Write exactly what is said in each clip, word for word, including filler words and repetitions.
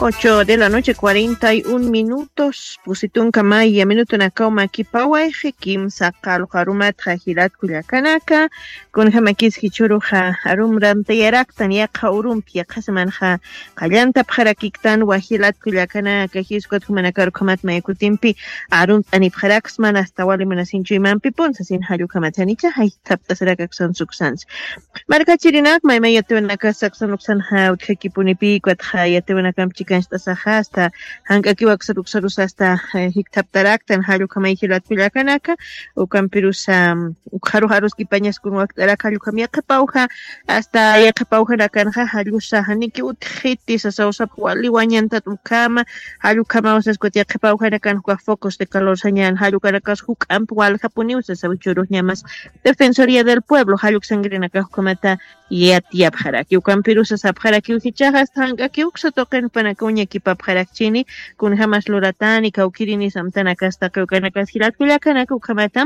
Ocho de la noche, cuarenta y un minutos. Pusi tunka maya minutunakaw makipawayxi, kimsa qallqu arumatxa jilat kullakanaka. Kunjamakis jichhüruxa arumrantayaraktan yaqha urumpi, yaqha semanxa qallantapxarakiktanwa jilat kullakanaka, jiskt'at jumanakar ukhamat mayakutimpi arumt'anipxaraksman, asta wali munasinchuymampi punsasin jall ukhamat janicha jaythapt'asirakaksan suksansi. Markachirinak maymay yatiwanakas saksan uksanxa utjakipunipï, ukatxa yatiwanakamp chikancht'asaxa asta jank'akiw aksar uksarus asta, eh, jikthaptaraktan jall ukhamay jilat kullakanaka. Ukampirusa, mm, ukxarux aruskipañas kun wakt'arak jall ukham yaqhipawja, asta yaqhipawjanakanxa jallusa janiki utjiti sasaw sapx wali wañantat ukhama, jall ukhamaw sas ukat yaqhipawjanakan ukax focos de calor sañan jall ukanakas juk'amp waljapuniw sasaw jichhürux ñamas Defensoría del Pueblo jall uksankirinakax ukhamata yatiyapxaraki. Ukampirusa sapxarakiw jichhaxa asta jank'akiw uksa tuqin jupanakaw ñakipapxarakchini, kunjamas luratani, kawkïrinis amtanakas taqi ukanakas jilat kullakanaka ukhamata,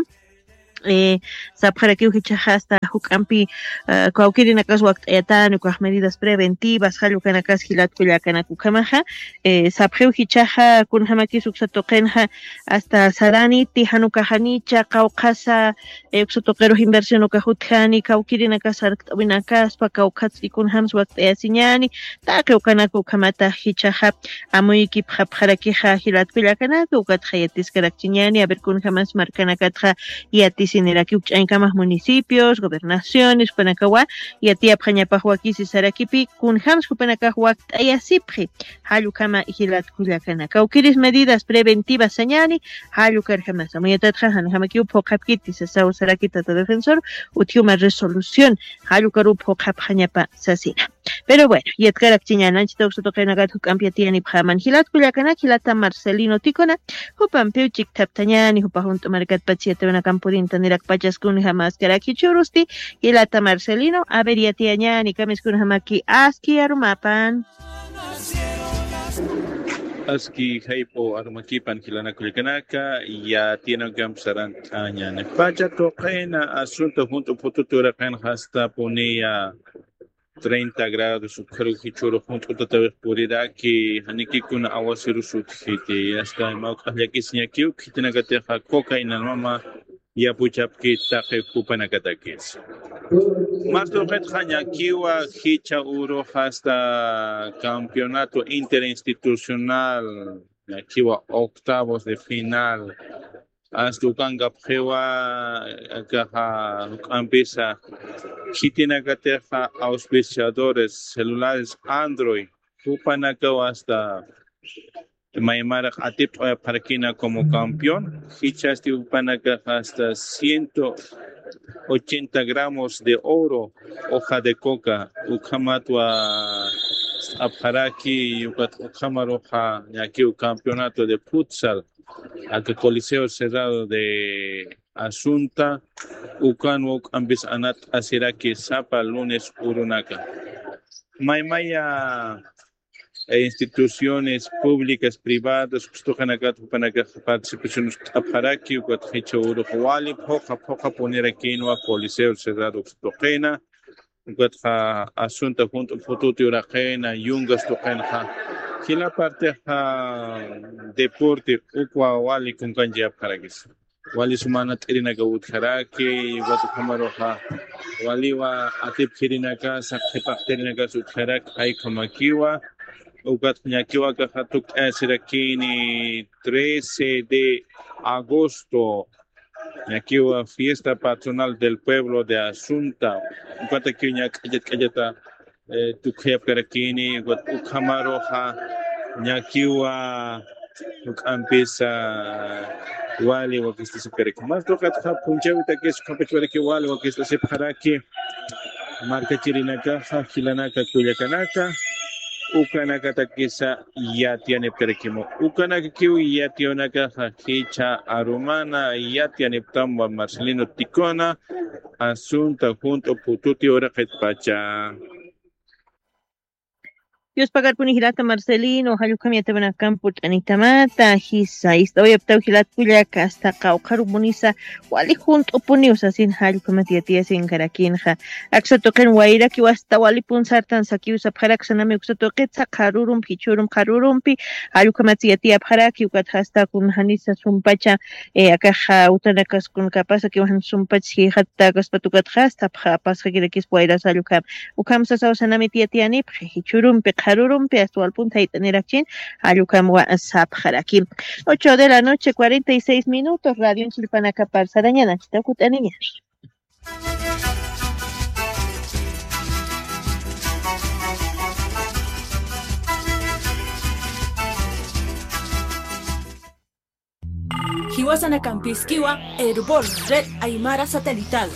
eh, sapxarakiw jichhaxa asta juk'ampi, eh, kawkïrinakas wakt'ayatani, ukax medidas preventivas jall ukanakas jilat kullakanaka ukhamaxa, eh, sapxiw jichhaxa kunjamakis uksa tuqinxa asta saraniti, jan ukax janicha, qawqhasa, eh, uksa tuqirux inversión ukax utjani, kawkïrinakas sarkt'awinakaspa, kawkhatsti kunjams wakt'ayasiñani, taqi ukanaka ukhamata jichhaxa amuyikipxapxarakixa jilat kullakanaka, ukatxa yatiskarakchiñani, a ver kunjamas markanakatxa yatisiniraki, uk ch'añkamax municipios, gobernaciones, jupanakawa yatiyapxañapax wakisi sarakipi, kunjams jupanakax wakt'ayasipxi, jall ukhama jilat kullakanaka. Kawkïris medidas preventivas sañani, jall ukarjamasa. Amuyatatxa janjamakiw phuqhapkiti sasaw saraki tata defensor, utji uma resolución, jall ukaruw phuqhapxañapa sasina. Pero bueno, yatkarakchiñäni, anchhita uksa tuqinakat juk'ampi yatiyanipxäman. Jilat kullakanaka, jilata Marcelino Ticona, jupampiw chikthaptañäni, jupa junt'u markatpach yatiwanakamp purintanirakpachas kunjamaskarak jichhürusti, jilata Marcelino, a ver, yatiyañäni, kamis kunjamaki aski arumapan. Aski jayp'u arumakipan jilanak kullakanaka, yatiyanakamp sarant'añäni. Pacha tuqina asunto junt'u phututi uraqinxa asta puniya treinta grados, ukxaruw jichhürux junt'u tatawix puriraki, janikikuna awasirus utjiti, asta mawk'ax llakisiñakiw, khitinakatixa coca inalmama yapuchapki taqi jupanakatakis. Mas tuqitxa ñakiwa jichha urux asta campeonato interinstitucional, ñakiwa octavos de final, asta ukankapxiwa akaxa juk'ampisa khitinakatixa auspiciadores celulares Android, jupanakaw asta maymaraq atipt'awayapxarakina como campeón, jichhasti jupanakax asta ciento ochenta gramos de oro, hoja de coca, ukhamatwa st'apxaraki, ukat ukhamaruxa ñakiw campeonato de futsal, aka Coliseo Cerrado de Asunta, ukanwa juk'ampis anat'asiraki sapa lunes urunaka. Maymaya e instituciones públicas, privadas, uksa tuqinakat jupanakax participación ukt'apxaraki, ukat jichha urux wali phuqha phuqha punirakinwa Coliseo Cerrado uksa tuqina, ukatxa asunto junt'u phututi uraqina, yungas tuqinxa, jila partixa deporte ukwa wali kunkanchayapxarakis. Wali suma anat'irinakaw utjaraki, ukat ukhamaruxa waliwa atipjirinakasa, qhipaqt'irinakasa utjaraki, jay ukhamakiwa, ukat ñakiwa akaxa tukt'ayasirakini trece de agosto, ñakiwa fiesta patronal del pueblo de Asunta, ukatakiw ña k'allat k'allata eh, tukuyapkarakini, ukat ukhamaruxa ñakiwa juk'ampisa wali wakist'asipkaraki. Mas tuqitxa p'unchawtakis ukhampachwaraki wali wakist'asipxaraki markachirinakaxa, jilanaka kullakanaka, ukanakatakisa yatiyanipkarakimu. Ukanakakiw yatiyanakaxa jichha arumana yatiyaniptamwa Marcelino Ticona, asunto junt'u phututi uraqitpacha. Dios pagarpuni jilata Marcelino, jallukam yatawanakampu t'anitamata, jisa, ist'awayaptaw jilat kullaka, asta qawqharupunisa, wali junt'upuniw sasin jallukhamat yatiyasinkarakinxa. Aksa tuqin wayrakiw asta walipun sartan sakiw sapxaraksa nami uksa tuqitsa qharurumpi, jichhurumpi, qharurumpi, jallukhamat yatiyapxaraki, ukat jasta kun janisa sumpacha, eh, akaxa utanakaskun kapasa kiwan sumpach jixatta kaspat ukat jasta pha-, pasxakirakis wayras jallukam. Ukham sasaw sanamit yatiyanipxi, jichhurumpi, qharurumpi, asta walpun thayt'anirakchin, jallukam wa sapxaraki. Ocho de la noche, cuarenta y seis minutos, radio chilpanakapar sarañanakta kut'aniñar. Jiwasanakampiskiwa, Erbol, Red Aymara Satelital.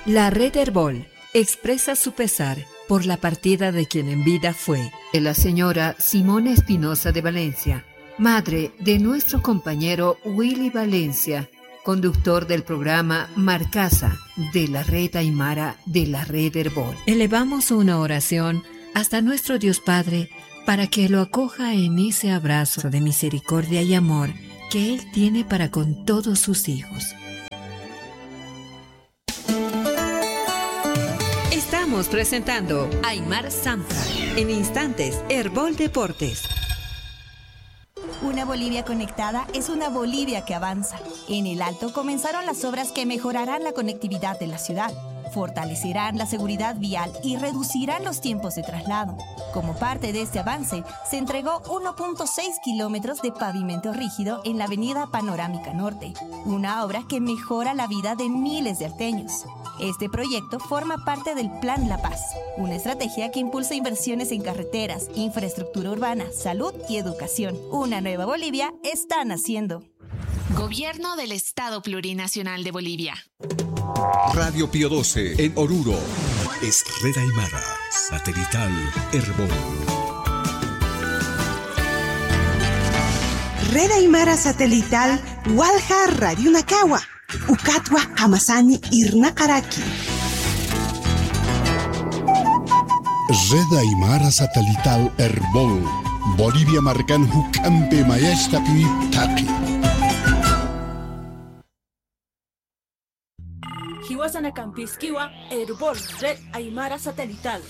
La red Erbol expresa su pesar por la partida de quien en vida fue la señora Simona Espinosa de Valencia, madre de nuestro compañero Willy Valencia, conductor del programa Marcasa de la Red Aymara de la Red Erbol. Elevamos una oración hasta nuestro Dios Padre para que lo acoja en ese abrazo de misericordia y amor que Él tiene para con todos sus hijos. Estamos presentando Aymar Samsa. En instantes, Erbol Deportes. Una Bolivia conectada es una Bolivia que avanza. En El Alto comenzaron las obras que mejorarán la conectividad de la ciudad, fortalecerán la seguridad vial y reducirán los tiempos de traslado. Como parte de este avance, se entregó uno punto seis kilómetros de pavimento rígido en la avenida Panorámica Norte, una obra que mejora la vida de miles de alteños. Este proyecto forma parte del Plan La Paz, una estrategia que impulsa inversiones en carreteras, infraestructura urbana, salud y educación. Una nueva Bolivia está naciendo. Gobierno del Estado Plurinacional de Bolivia. Radio Pío doce en Oruro. Es Red Aymara, satelital Erbol. Red Aymara Satelital, walja radionakawa. Ukatwa jamasani irnaqaraki. Red Aymara Satelital Erbol, Bolivia markan juk'ampi mayachtapiwi ptaqi. Jiwasanakampiskiwa, Erbol, Red Aymara Satelital.